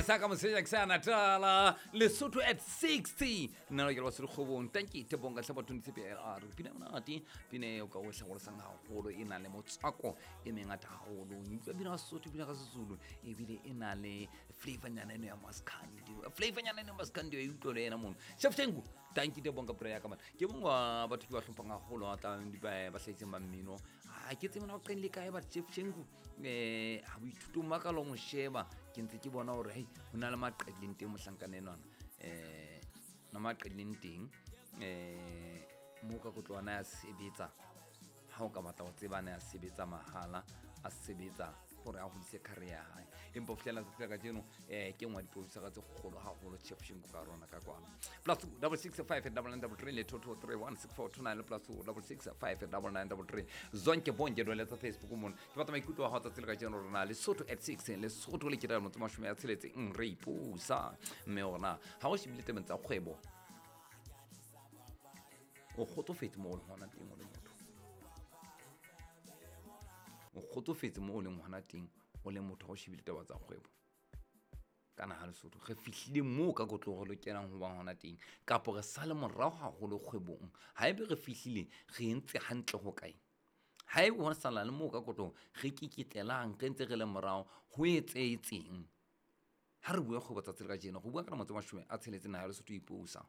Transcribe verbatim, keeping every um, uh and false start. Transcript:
Sa ka moseja ke sa Natala Lesotho at sixty. Nna ke le basotho kgobong. Tanki tebong ka hlapa twenty C P L R. Pina monate, pina eo ka o hlagolosang haholo, e na le motswako e mengata haholo. Utlwa pina ya Sesotho, pina ka Sezulu, ebile e na le flavornyana eno ya maskandi. Flavornyana eno ya maskandi e utlwe le yena mono. Chef Shengu, tanki tebong ka prayer ka man. Ke mong wa batho ke ba hlomphang haholo, a tlang di ba ba hlahiseng ba mmino. Ha ke tsebe na o qenile kae ba Chef Shengu. Eh, ha boithutong ba ka lo mo sheba, ke ntse ke bona hore hei ho na le maqedileng teng mohlankana enwana. Eh, na maqedileng teng eh mo ka kotlwana ya sebetsa. Ha o ka batla ho tseba na ya sebetsa mahala, a sebetsa hore a hodise career ya hae. Empa ho fihlela tsatsi la kajeno eh ke nngwe ya diproducer tse kgolo haholo Chef Shengu ka rona ka kwana. Plus two double six five double nine double three le two two three one six four two nine le plus two double six five double nine double three. Zonke bonke dwele tsa Facebook mona. Ke batla maikutlo a hao tsatsi la kajeno rona Lesotho at six, Lesotho le ketelo motse mashome a tsheletseng re ipusa. Mme hona ha o shebile tabeng tsa kgwebo, o kgotsofetse mo o leng hona teng o le motho. O kgotsofetse mo o leng hona teng o le motho ha o shebile taba tsa kgwebo. Ka naha Lesotho re fihlile moo ka kotloho re lokelang ho ba hona teng, kapo re sale morao haholo kgwebong. Haebe re fihlile re entse hantle ho kae? Haebe ho sala le moo ka kotloho re kikitlelang re ntse re le morao ho etsahetseng? Ha re bua kgwebo tsatsi la kajeno, re bua ka lemo tse mashome a tsheletseng naha ya Lesotho e ipusa.